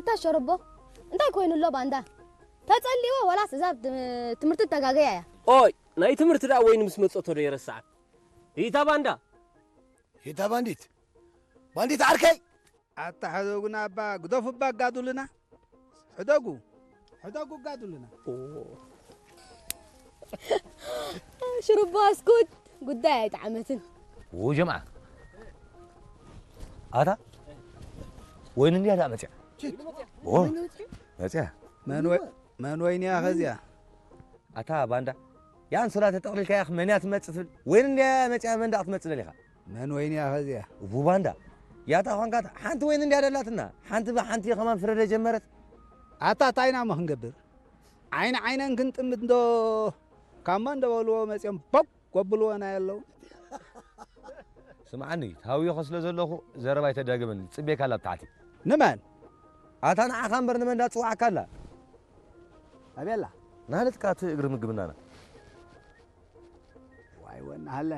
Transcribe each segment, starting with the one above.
እታ ሸረቦ እንታይ ኮይኑ ኣሎ ባንዳ? ተጸሊዎ ዋላስ እዛ ብ-፣ ትምህርቲ ተጋገያ እያ? ኦይ፣ ናይ ትምህርቲ ደኣ ወይኒ ምስ መጸቶ ዶ የረስዓ? ይታ ባንዳ። ይታ ባንዲት። ባንዲት ዓርከይ። ኣታ ሕደጉና እባ፣ ግደፉ እባ ኣጋድሉና። ሕደጉ። ሕደጉ ኣጋድሉና። ሽሩባ እስኩት ጉዳይ ኣይጠዓመትን። ው ጀምዓ። ኣታ ወይኒ እንድያ ደኣ መጽያ። ችት። ኦ፣ መጽያ። መን ወይ-፣ መን ወይኒ እያ ኸዚያ? ኣታ ባንዳ፣ ያ ኣንሶላ ተጠቕሊልካ ኢኻ፣ መን እያ ትመጽእ ትብል? ወይኒ እንድያ መጽያ፣ መን ደኣ ክትመጽእ ደሊኻ? መን ወይኒ እያ ኸዚያ? እቡ ባንዳ፣ ያታ ዃንካ ሓንቲ ወይኒ እንድያ ደላትና፣ ሓንቲ ብሓንቲ ከማን ፍረደ ጀመረት። ኣታ ታይና እሞ ክንገብር? ዓይኒ ዓይነን ክንጥምት እንዶ ካማ እንደ በልዎ መጽዮም ቦግ ጎብልዎ ናይ ኣለዉ። ስምዓኒ፣ ተሃውዮኸ ስለ ዘለኹ ዘረባ ኣይተዳግመኒ፣ ጽቤካ ኣላ ኣብ ታሕቲ። ንመን? ኣታ ንዓኻ እምበር ንመን ዳጽዋዕካ ኣላ? ኣበላ? ናህለትካ እቲ እግሪ ምግብናና። ዋይ ወናሃለ።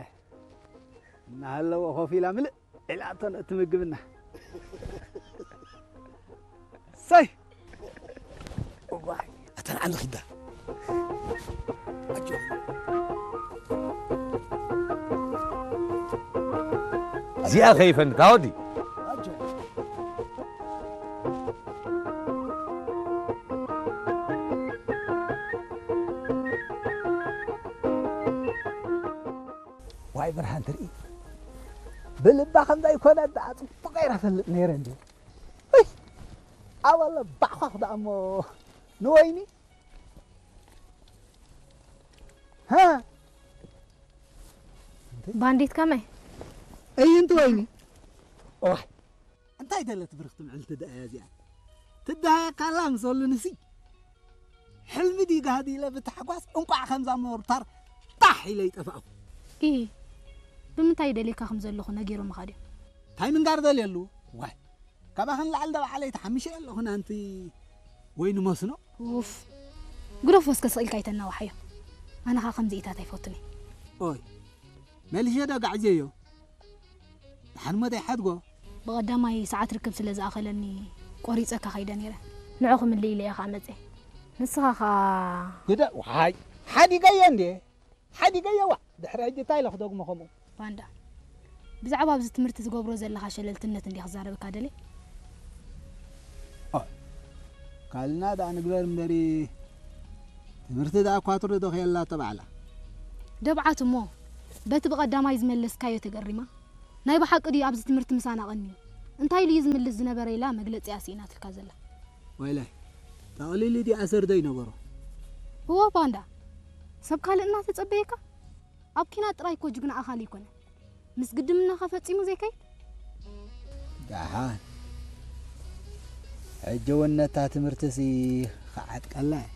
እናሃለወ ኮፍ ኢላ ምልእ ኢላቶ ነቲ ምግብና። ሰይ! እዋይ፣ ኣታ ንዓሊ ኺዳ። ኣጆ። እዚኣ ኸይፈንታ ወዲ። ኣጆ። ዋይ ብርሃን ትርኢ። ብልባ ከምዛ ይኮነ ደኣ ጽቡቕ ገይረ ፈልጥ ነይረ እንዲ። እይ! ኣበለ ባዕኳኽ ደኣ እሞ ንወይኒ። ሃ? ባንዲት ከመይ? እይ፣ እንት ወይኒ። ኦይ፣ እንታይ ደለት ብርኽቲ ምዕልቲ ደኣ እያ እዚኣ? ትደሃየካ ኣላ ምስ በሉንሲ፣ ሕልሚ ድዩ ጋህዲ ኢለ ብታሕጓስ እንቋዕ ከምዛ ሞርታር ጣሕ ኢለ ይጠፋእኹ። ኢሂ፣ ብምንታይ ደልየካ ከም ዘለኹ ነጊሮምኻ ድዮም? እንታይ ምንጋር ደልየሉ? ዋይ፣ ካባኽን ላዕሊ ዶ ባዕለይ ተሓሚሸ ኣለኹ ናንቲ ወይኒ መስኖ? ኡፍ፣ ግደፎ እስከ ስቕ ኢልካ ኣይተናዋሓዮ። ኣነ ኸኣ ከምዚኢታት ኣይፈቱን እየ። ኦይ፣ መሊሸ ዶ ጋዕዝየዮ? ደሓን እሞ ዘይሓድጎ። ብቐዳማይ ሰዓት ርክብ ስለ ዝኣኸለኒ ቆሪጸ ከኸይደ ነይረ። ንዑ ክምልእ ኢለ እየ ኸኣ መጽየ። ንስኻ ኸኣ ግደ-፣ ዋይ፣ ሓዲገዮ እንዴ? ሓዲገዮ ዋ። ድሕሪ ሕጂ እንታይ ኢለ ክደግሞ ከምኡ? ባንዳ። ብዛዕባ ኣብዚ ትምህርቲ ትገብሮ ዘለኻ ሸለልትነት እንድየ ክዛረበካ ደልየ። ኦ፣ ካልእና ደኣ ንግበር እምበሪ፣ ትምህርቲ ደኣ ኳትሮ ዶ ከየላቶ ባዕላ? ደብዓት እሞ፣ በቲ ብቐዳማይ ዝመለስካዮ ተገሪማ፣ ናይ ብሓቂ ድዩ ኣብዚ ትምህርቲ ምሳና ቀንዩ? እንታይ ኢሉ እዩ ዝምልስ ዝነበረ ኢላ መግለጺ እያ ስኢናትልካ ዘላ። ወይላይ፣ ጠቕሊሉ ድዩ ኣሰር ዶ ይነበሮ? እወ ባንዳ፣ ሰብ ካልእ እናተጸበየካ? ኣብ ኲናት ጥራይ እኮ ጅግና ኣኻሊ ኣይኮነን። ምስ ግድምናኸ ፈጺሙ ዘይከይድ? ደሓን። ሕጂ እውን ነታ ትምህርትሲ ክዓጥቀላ እየ።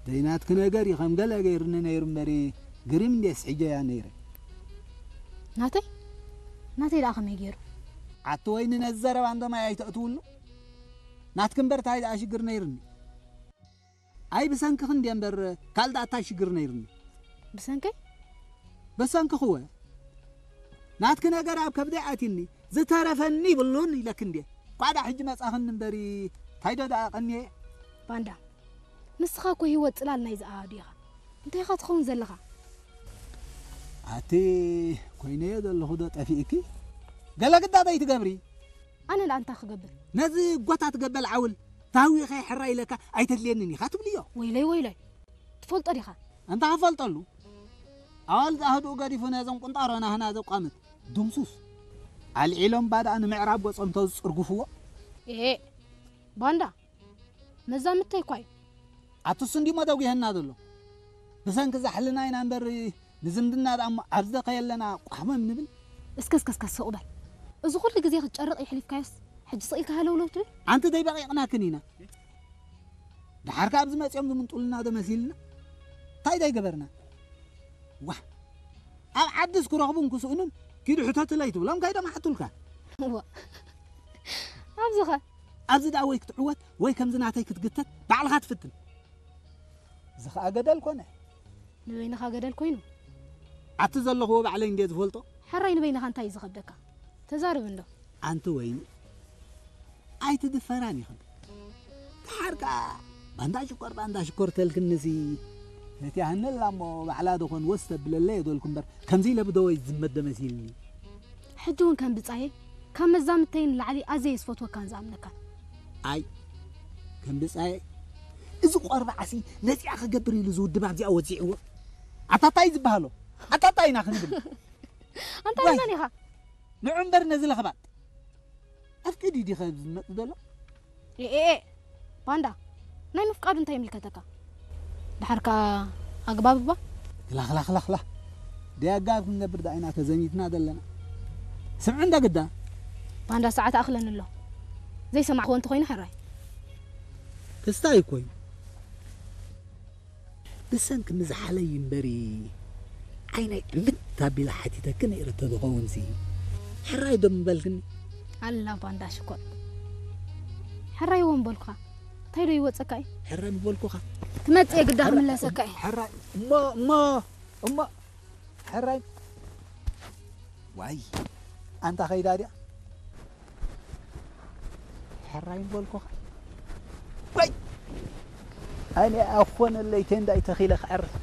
ደይናትኪ ነገር እዩ ከም ገለ ገይሩኒ ነይሩ እምበሪ፣ ግሪም እንድየ ስሒጀያ ነይረ። ናተይ? ናተይ ደኣ ከመይ ገይሩ? ኣቲ ወይኒ ነዚ ዘረባ እንዶ ማይ ኣይተእትውሉ። ናትኪ እምበር እንታይ ደኣ ሽግር ነይሩኒ? ኣይ ብሰንክኺ እንድየ እምበር ካልእ ደኣ እንታይ ሽግር ነይሩኒ? ብሰንከይ? በሰንክኺ እወ። ናትኪ ነገር ኣብ ከብደይ ኣትዩኒ፣ ዝተረፈኒ ይብሉን ኢለኪ እንድየ። ኳዳ ሕጂ መጻኽኒ እምበሪ፣ እንታይ ዶ ደኣ ቀንየ? ባንዳ፣ ንስኻ እኮ ህይወት ጽላል ናይዚ ኣሃዱ ኢኻ። እንታይ ኢኻ ትኸውን ዘለኻ? ኣቲ ኮይነዮ ዘለኹ ዶ ጠፊእኪ? ገለ ግዳ ዘይትገብሪ? ኣነ ደኣ እንታይ ክገብር? ነዚ ጎታት ገበል ዓውል ታዊኸ ሕራይ ኢለካ ኣይተድልየንን ኢኻ ትብልዮ? ወይለይ፣ ወይለይ። ትፈልጦ ዲኻ? እንታይ ክፈልጠሉ? ኣዋልድ ኣህድኡ ገዲፉ ነዘን ቁንጣሮ ናህና ዘቋምት ድምሱስ። ኣልዒሎም ባድኣ ንምዕራብ ገጾም ተዝጽርግፍዎ? ኤሄ፣ ባንዳ። መዛምድተይ እኳ እዩ። ኣቱስ እንዲሞ ደጒሀና ዘሎ። ብሰንኪ ዛሕልና ኢና እምበር ንዝምድና ደኣ እሞ ኣብዚ ዶ ከየለና ቋሕመም ንብል? እስከ፣ እስከ፣ እስከ፣ ስቕ በል። እዚ ኩሉ ግዜ ክትጨርቕ የሕሊፍካዮስ፣ ሕጂ ስቕ ኢልካ ሃለውለው ትብል? ኣንቲ ደይበቒቕናክን ኢና። ደሓር ከኣ ኣብዚ መጺኦም ዝምንጡልና ዶ መሲልና? እንታይ ደይገበርና? ዋህ! ኣብ ዓድስ ክረኽቡን ክስእኑን ኪዱ ሕተቱለይ ትብሎም ከይዶም ኣሕቱልካ። እዋ። ኣብዚኸ? ኣብዚ ደኣ ወይ ክትዕወት ወይ ከምዚ ናተይ ክትግተት ባዕልኻ ትፍትን። እዚ ኸኣ ገደል ኮነ። ንበይንኻ ገደል ኮይኑ? ኣቲ ዘለኽዎ ባዕለይ እንድየ ዝፈልጦ። ሕራይ ንበይንኻ እንታይ እዩ ዝኸብደካ? ተዛረብ እንዶ። ኣንቲ ወይኒ፣ ኣይትድፈራን ኢኽን። ደሓር ከኣ ባንዳ ሽኮር፣ ባንዳ ሽኮር ተልክንሲ፣ ፈትያህኒ ኣላ እሞ ባዕላ ዶ ኾን ወስ ተብለለይ እየ ዶልኩ እምበር፣ ከምዚ ኢለ ብደወይ ዝመደ መሲልኒ። ሕጂ እውን ከም ብጻየይ፣ ካብ መዛምድተይ ንላዕሊ ኣዝየ ዝፈትወካን ዝኣምነካን። ኣይ፣ ከም ብጻየይ፣ እዚ ቆርባዕሲ ነዚኣ ክገብር ኢሉ ዝውድባ ኣብዚኣ ወጺዕዎ። ኣታ ታይ ዝበሃሎ? ኣታ ታይ ኢና ክንብል? ኣንታ ዋይ። መን ኢኻ? ንዑ እምበር ነዚ ለኽባጥ። ኣፍቂዱ ዲኸ ዝመጽእ ዘሎ? ኤ፣ ኤ፣ ኤ፣ ባንዳ፣ ናይ ምፍቃዱ እንታይ ይምልከተካ? ደሓር ከኣ ኣግባብ እባ። ክላ፣ ክላ፣ ክላ፣ ክላ። ደይ ኣግባብ ክንገብር ደኣ ኢና ተዘሚትና ዘለና። ስምዒ እንዳ ግዳ። ባንዳ ሰዓት ኣኽለኒ ኣሎ። ዘይሰማዕክዎ እንተኾይኑ ሕራይ። ክስታይ እኮ እዩ። ብሰንኪ ምዝሓለይ እምበሪ ዓይነይ ዕምት ኣቢላ ሓቲተኪ ነይረ ተዝኸውንሲ ሕራይ ዶ ምበልክኒ? ኣላ ባንዳ ሽኮር። ሕራይ እውን በልኩኻ። እንታይ ዶ ይወጸካ እዩ? ሕራይ ምበልኩኻ። ትመጽእ የግዳ ሕራይ ክምለሰካ እዩ። ሕራይ እሞ፣ እሞ፣ እሞ፣ ሕራይ። ዋይ፣ ኣንታ ኸይዳ ድያ? ሕራይ ምበልኩኻ። ዋይ፣ ኣነ ኣኾነለይ ቴንዳይ ተኺለ ክዕርፍ።